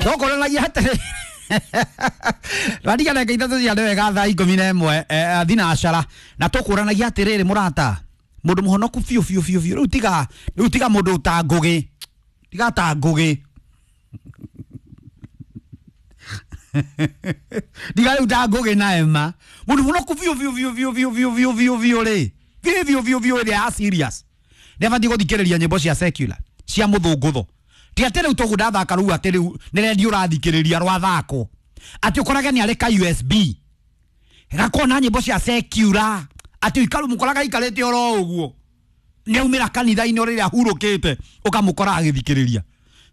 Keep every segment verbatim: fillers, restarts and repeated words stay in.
Tũkũranagia atĩrĩ radiga ndagĩka ithatũ cia wega thaa ikũmi na ĩmwe eh, thinacara na tũkũranagia atĩrĩrĩ mũrata mũndũ mũhonoku biũ biũ biũ biũ rĩu tiga rĩu tiga mũndũ ta Ngũgĩ tiga ta Ngũgĩ tiga rĩu ta Ngũgĩ na Emma mũndũ mũhonoku biũ biũ biũ biũ biũ biũ biũ biũ biũ rĩ biũ biũ biũ biũ ĩrĩa ya serious nĩ abatiĩ gũthikĩrĩria nyĩmbo cia secular cia mũthũngũtho ti atĩ rĩu tũgũ ndathaka rĩu atĩ rĩu nĩ redio ũrathikĩrĩria rwathakwo atĩ ũkorage nĩ arĩ ka U S B gakona nyĩmbo cia secular atĩ ũikaru mũkoraga aikarĩte oro ũguo nĩ aumĩra kanitha-inĩ o rĩrĩa ahurũkĩte ũkamũkora agĩthikĩrĩria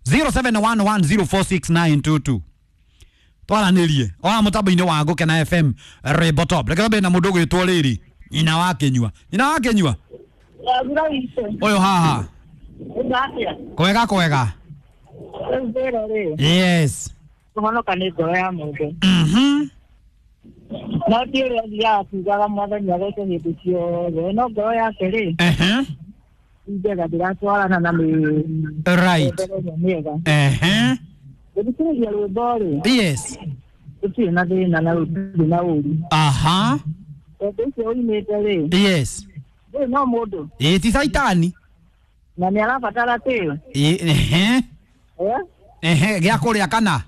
zero seven one one zero four six nine two two twaranĩrie ona mũtambo-inĩ wa Gũkena F M Rwĩmbo Top reke twambie na mũndũ ũgwĩtwo rĩrĩ nyina wa Kĩnyua nyina wa Kĩnyua ũyũ haha kwega kwega. Yes. Kũhonoka nĩ ngoro ya mũndũ. Mhm. No ti ũrĩa athiaga akiugaga mwathani agwĩte hĩndĩ ciothe no ngoro yake rĩ Ehe. njega ndĩratwarana na mĩ Right. mĩega. Ehe. Gũthikĩrĩria rwĩmbo rĩ Yes. gũtirĩ na thĩna na gũtirĩ na ũru. Aha. Tondũ ũcio ũinĩte rĩ Yes. ndũrĩ no mũndũ Ĩ ti caitani. na nĩ arabatara tĩo. Ehe. Eh? Ehe gĩa kũrĩa kana?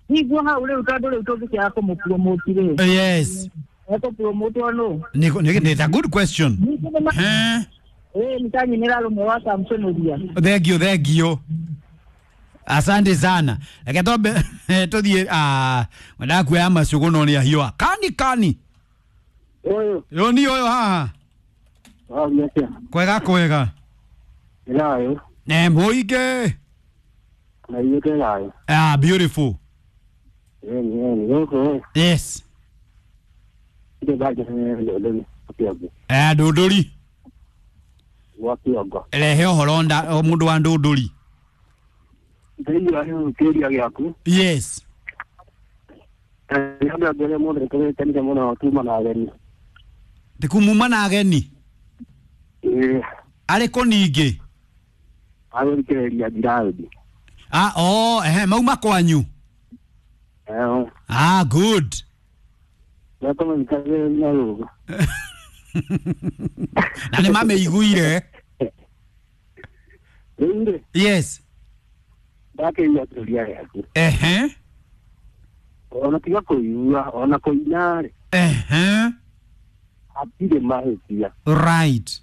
Niguo hau rĩu tondũ rĩu tũngĩkĩaga kũmũpromote rĩ. Yes. Ekũpromotwo nũ? Nĩ nĩ a good question. Eh. Eh, nitanyinĩra rũmwe wa Samson Ũria. Thank you, thank you. Asante sana. Reke twambe tũthiĩ ah wendaga kuoya macũgũ no nĩ ahiũha. Kani kani. Ũyũ. Yo ni ũyũ haha. Waria atĩa? Kwega kwega. Thayũ. Ne mũingĩ. Na ithuĩ twĩ thayũ. Ah, beautiful. Ĩni, ĩni, gũkũ Yes. ndĩ ndanjĩrĩire ndũndũri Kĩongo. Eh, ndũndũri. Gwa Kĩongo. Rehe ũhoro nda mũndũ wa ndũndũri. Ndĩraigua rĩu kĩũria gĩaku. Yes. Nĩ andũ angĩ arĩa mothe nĩtũgĩkenire mũno tuma na ageni. Ndikumuma na ageni. Ĩĩ. Arĩ kũ ningĩ? Agũthikĩrĩria Njiraũndi. Ah, oh, ehe, mauma kwanyu. Eh. Ah, good. Nakũmũthikagĩrĩria rũgũ. Na nĩ mamĩiguire. Rĩu rĩ. Yes. Ndakĩigua kĩũria gĩaku. Ehe. Ona tiga kũigua, ona kũina rĩ. Ehe. Hatirĩ mahĩtia. Right.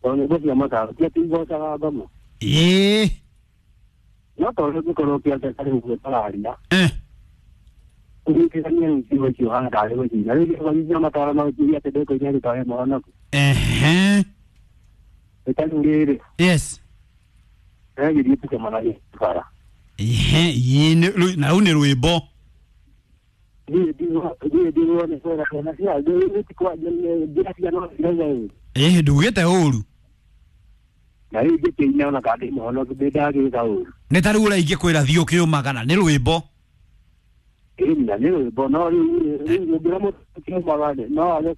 Tondũ nyĩmbo cia mataro ti atĩ igocaga ngoma. Ĩĩ. No tondũ ũngĩkorwo ũkĩandĩka rĩu ũguo tũraria. Eh. Ũnyitithanie rĩu ciugo icio ũhana tarĩ gũcina. Rĩu nyĩmbo cia mataro no ũkiuge atĩ ndĩkũina rĩ tondũ wĩ mũhonoku. Ehe. Nĩ ta rĩu rĩrĩ. Yes. Ndĩrageria tũcemanagie bara. Ehe, ĩĩ na rĩu nĩ rwĩmbo. Niĩ ndigwo nĩ kwenda ciana cia andũ ti kwaria njĩra cia no cirauga ũru. Ĩĩ ndugĩte ũru. Na rĩu ingĩkĩina ona kana ndĩ mũhonoku ndĩ ndagĩka ũru. Nĩ ta rĩu ũrĩa ingĩkwĩra thiĩ ũkĩũmaga na nĩ rwĩmbo. Ĩĩ na nĩ rwĩmbo no rĩu rĩu ũngĩra mũndũ ũkĩũmaga rĩ no age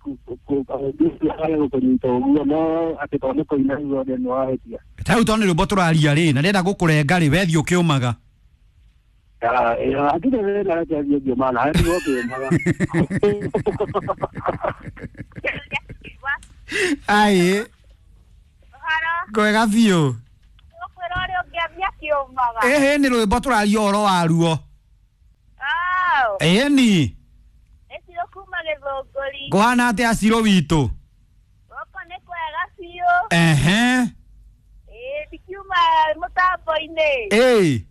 age gũkũnyita ũguo no atĩ tondũ nĩ kũina rĩu othe nĩ wahĩtia. Ta rĩu tondũ nĩ rwĩmbo tũraria rĩ na ndĩrenda gũkũrenga rĩ we thiĩ ũkĩũmaga. Hatirĩ thĩna reke thiĩ ngĩũmaga nawe nĩguo ũkĩũmaga. Ai. Kwega biũ. Ũkwĩra ũrĩa ũngĩambia kĩũmaga. Ĩhĩ nĩ rwĩmbo tũraria ũhoro waruo. Ĩni. Nĩ Ciro kuma Gĩthũngũri. Kũhana atĩa Ciro witũ? Gũkũ nĩ kwega biũ. Ehe. Ĩĩ ndikiuma mũtambo-inĩ. Ĩĩ.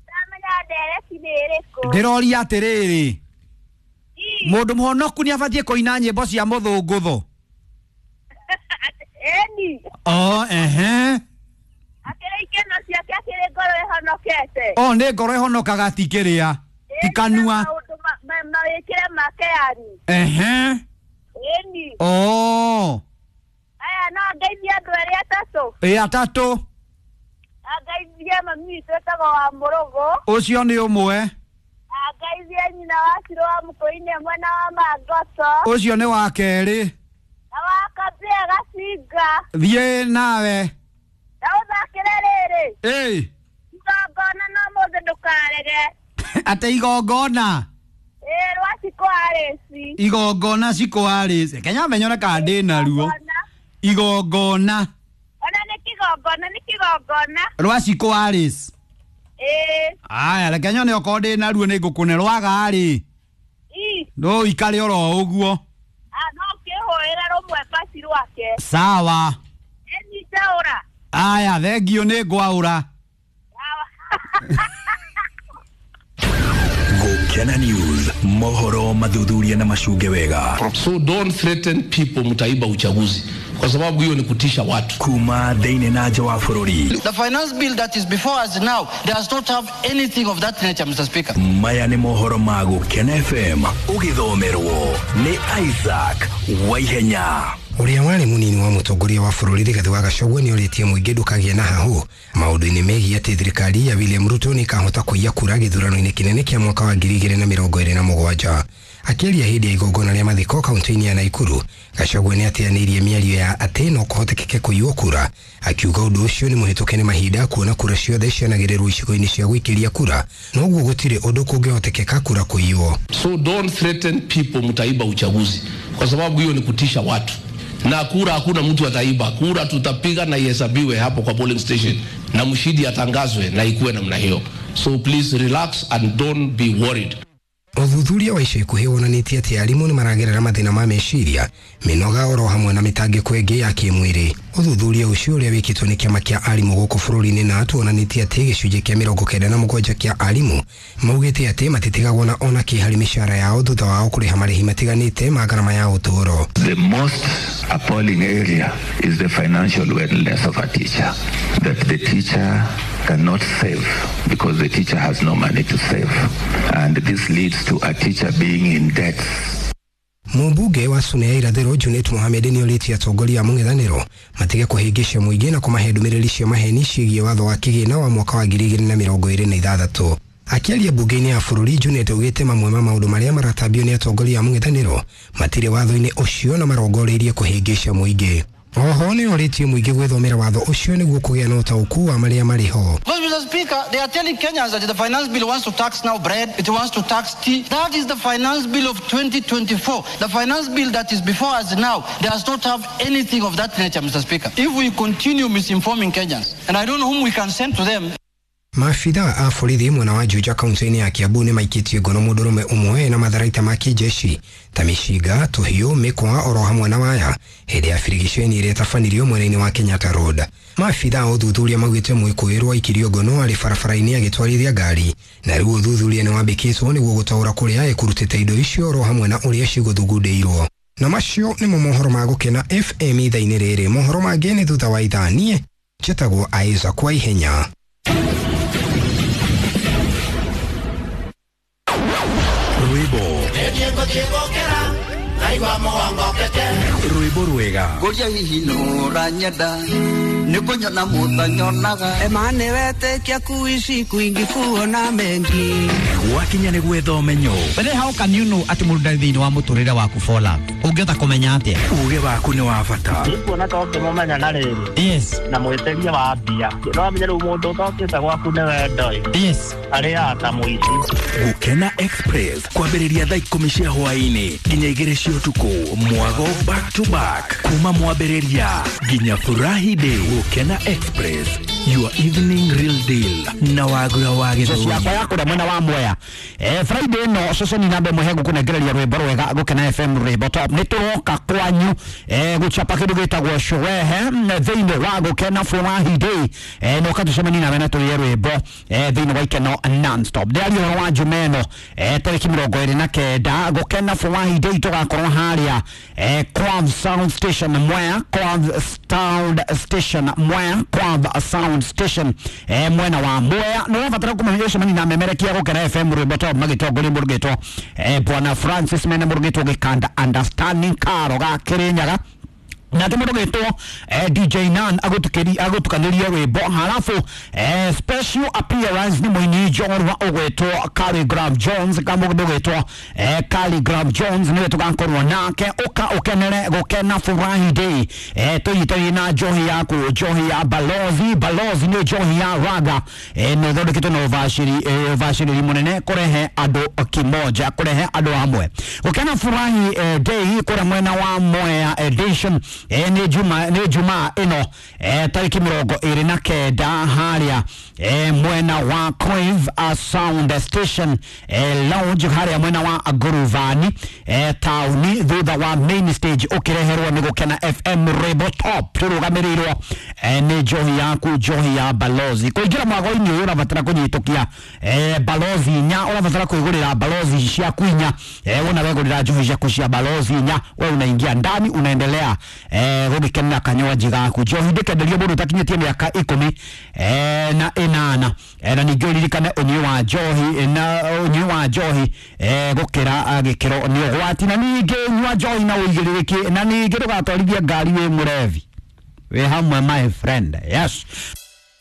Ndamenya ndereti nĩ ĩrĩkũ. Ndĩroria atĩrĩrĩ. Mũndũ mũhonoku nĩ abatiĩ kũina nyĩmbo cia mũthũngũtho. Ĩni. Oh, ehe. Akĩrĩ ikeno ciake akĩrĩ ngoro ĩhonokete. Oh, nĩ ngoro ĩhonokaga ti kĩrĩa. Ti kanua. Maũndũ mawĩkĩre make yani. Ehe. Ĩni. Oh. Aya no ngeithie andũ erĩ atatũ. Ĩ atatũ. Angeithie mami witũ etagwo wa Mũrũgũ. Ũcio nĩ ũmwe. Angeithie nyina wa Ciro wa Mũkũinĩ mwena wa Mangoto. Ũcio nĩ wa kerĩ. Na wa Kambĩa Gacinga. Thiĩ nawe. Na ũthakĩre rĩrĩ. Ĩĩ. Igongona no mũthĩ ndũkarege. Ate igongona. Ĩĩ rwa Cikũ Arĩci. Igongona Cikũ Arĩci. Kenya menyone kana ndĩ naruo. Igongona. Ona nĩ kĩgongona nĩ kĩgongona. Rwa Cikũ Arĩci. Ĩĩ. Aya reke nyone okorwo ndĩ naruo nĩ ngũkũne rwaga rĩ. Ĩ. No ikare oro ũguo. Ah no kĩhũĩre rũmwe basi rwake. Sawa. Ĩnyita ũra. Aya thengio nĩ ngwaũra. Gukena News mohoro mathuthuria na macunge wega. So don't threaten people mtaiba uchaguzi kwa sababu hiyo ni kutisha watu. Kuma thĩinĩ na nja wa bũrũri. The finance bill that is before us now does not have anything of that nature, Mister Speaker. Maya nĩ mohoro ma Gukena F M ũgĩthomerwo nĩ Isaac Waihenya. Ũrĩa warĩ mũnini wa mũtongoria wa bũrũri Rigathĩ wa Gachagua nĩ orĩtie mũingĩ ndũkagĩe na hahũ maũndũ-inĩ megiĩ atĩ thirikari ya William Ruto nĩ ĩkahota kũiya kura gĩthurano-inĩ kĩnene kĩa mwaka wa ngiri igĩrĩ na mĩrongo ĩrĩ na mũgwanja. Akĩaria hĩndĩ ya igongona rĩa mathiko kaunti-inĩ ya Nakuru, Gachagua nĩ ateanĩirie mĩario ya atĩ no kũhotekeke kũiywo kura, akiuga ũndũ ũcio nĩ mũhĩtũke nĩ mahinda kuona kura ciothe cianagĩrĩrwo icigo-inĩ cia gũikĩria kura, noguo gũtirĩ ũndũ kũngĩhotekeka kura kũiywo. So don't threaten people mtaiba uchaguzi kwa sababu hiyo ni kutisha watu. Na kura hakuna mtu ataiba, kura tutapiga na ihesabiwe hapo kwa polling station na mshindi atangazwe na ikuwe namna hiyo. So please relax and don't be worried. Ũthuthuria wa ica ikuhĩ wonanĩtie atĩ arimũ nĩ maragerera mathĩna ma meciria, mĩnoga oro hamwe na mĩtangĩko ĩngĩ ya kĩmwĩrĩ. Ũthuthuria ũcio ũrĩa wĩkĩtwo nĩ kĩama kĩa arimũ gũkũ bũrũri-inĩ na tuonanĩtie atĩ gĩcunjĩ kĩa mĩrongo kenda na mũgwanja kĩa arimũ maugĩte atĩ matitigagwo na ona kĩ harĩ mĩcara yao thutha wao kũrĩha marĩhi matiganĩte ma ngarama ya ũtũũro. The most appalling area is the financial wellness of a teacher, that the teacher cannot save because the teacher has no money to save, and this leads to a teacher being in debt. Mũmbunge wa Suna ya Irathĩro Junet Mohamed nĩ orĩtie atongoria a mũng'ethanĩro matige kũhĩngĩca mũingĩ na kũmahe ndũmĩrĩri cia maheni ciĩgiĩ watho wa kĩgĩna wa mwaka wa ngiri igĩrĩ na mĩrongo ĩrĩ na ithathatũ. Akĩaria mbunge-inĩ ya bũrũri, Junet augĩte mamwe ma maũndũ marĩa maratambio nĩ atongoria a mũng'ethanĩro matirĩ watho-inĩ ũcio na marongoreirie kũhĩngĩca mũingĩ. Oho nĩ orĩtie mũingĩ gwĩthomera watho ũcio nĩguo kũgĩa na ũtaũku wa marĩa marĩ ho. Mister Speaker, they are telling Kenyans that the finance bill wants to tax now bread, it wants to tax tea. That is the finance bill of twenty twenty-four. The finance bill that is before us now does not have anything of that nature, Mister Speaker. If we continue misinforming Kenyans, and I don't know whom we can send to them. Maabitha a borithi mwena wa Juja kaunti-inĩ ya Kiambu nĩ maikĩtie ngono mũndũrũme ũmwe na matharaita ma kĩjeshi ta mĩcinga, tũhiũ, mĩkwa oro hamwe na waya hĩndĩ ya birigiceni ĩrĩa ĩtabanirio mwena-inĩ wa Kenyatta Road. Maabitha a ũthuthuria maugĩte mwĩkũĩrwo aikirio ngono arĩ barabara-inĩ agĩtwarithia ngari, na rĩu ũthuthuria nĩ wambĩkĩtwo nĩguo gũtaũra kũrĩa ĩkũrutĩte indo icio oro hamwe na ũrĩa cigũthugundĩirwo. Na macio nĩmo mohoro ma Gũkena F M ithaa-inĩ rĩrĩ. Mohoro mangĩ nĩ thutha wa ithaa. Niĩ njĩtagwo Isaac Waihenya. Rwĩmbo rwĩmbo rwega Ngoria hihi nũranyenda nĩ kũnyona mũtanyonaga ema nĩwetĩkia kuishi kwingi kuona mengi gwakinya nĩ gwetha ũmenyo. But how can you know atĩ mũndũ ndarĩ thĩinĩ wa mũtũrĩre waku for love? Ũngĩhota kũmenya atĩa? Uge waku nĩ wa bata. Nĩkuona ta ũngĩmũmenya na rĩrĩ. Yes. Na mwĩtĩrie wa mbia. No amenye rĩu mũndũ ũtokĩte gwaku nĩ wendo ĩ. Yes. Arĩaga ta mũici. Gũkena Express kwambĩrĩria thaa ikũmi cia hwaĩ-inĩ nginya igĩrĩ cia ũtukũ, mwago back to back kuma mwambĩrĩria nginya furahi day. Gũkena Express, your evening real deal na wagura wa gĩthũri. Yakwa ya kũrĩa mwena wa Mwea. Eh, Friday no ceceni namba ĩmwe he ngũkũnengereria rwĩmbo rwega Gũkena F M rwĩmbo top. Nĩ tũroka kwanyu eh, gũchapa kĩndũ gĩtagwo sherehe thĩinĩ wa Gũkena Furahi Day. Eh, no katũcemanie nawe na tũrĩe rwĩmbo eh, thĩinĩ wa Ikeno non-stop. Ndĩraria ũhoro wa Jumaa ĩno eh, tarĩki mĩrongo ĩrĩ na kenda Gũkena Furahi Day tũgakorwo harĩa eh, Quad Sound Station Mwea, Quad Sound Station Mwea, Quad Sound Station eh, mwena wa Mwea. Nĩ ũrabatara kũmenya ũcemanie na memerekia Gũkena F M rwĩmbo top magĩtongoria mũrugĩtwo eh, Bwana Francis mene mũrugĩtwo Gĩkanda Understanding Karo ga Kĩrĩnyaga. Nake mũndũ gwĩtwo eh, D J Nan agũtukĩri agũtukanirie rwĩmbo, halafu eh, special appearance nĩ mũini njorua ũgwĩtwo Khaligraph Jones. Kamũndũ gwĩtwo eh, Khaligraph Jones nĩwe tũgakorwo nake. Ũka ũkenere gũkena Furahi Day, eh, tũnyitanie na njohi yaku, njohi ya Balozi. Balozi nĩ njohi ya raga, eh, nĩ ĩthondeketwo na ũbacĩri eh, ũbacĩrĩri mũnene kũrehe andũ kimoja, kũrehe andũ hamwe gũkena Furahi eh, Day kũrĩa mwena wa Mwea Edition. eh, nĩ juma nĩ juma ĩno, eh, tarĩki mĩrongo ĩrĩ na kenda, harĩa eh, mwena wa Crave uh, Sound Station eh, Lounge, harĩa mwena wa Nguruvani eh, taũni, thutha wa main stage, ũkĩreherwo nĩ Gũkena F M Rebo Top, tũrũgamĩrĩirwo eh, nĩ njohi yaku, njohi ya Balozi. Kũingĩra mwago-inĩ ũyũ ũrabatara kũnyitũkia eh, Balozi inya, ũrabatara kwĩgũrĩra Balozi ciaku inya. eh, wona wegũrĩra njohi ciaku cia Balozi inya, we unaingia ndani, unaendelea eh, gũgĩkenera kanywaji gaku. Njohi ndĩkenderio mũndũ ũtakinyĩtie mĩaka ikũmi eh, na ĩnana. eh, na ningĩ ũririkane ũnyui wa njohi na ũnyui wa njohi eh, gũkĩra ah, gĩkĩro nĩ ũgwati, na ningĩ nyua njohi na ũigĩrĩrĩki, na ningĩ ndũgatwarithie ngari wĩ mũrevi. Wĩ hamwe, my friend? Yes.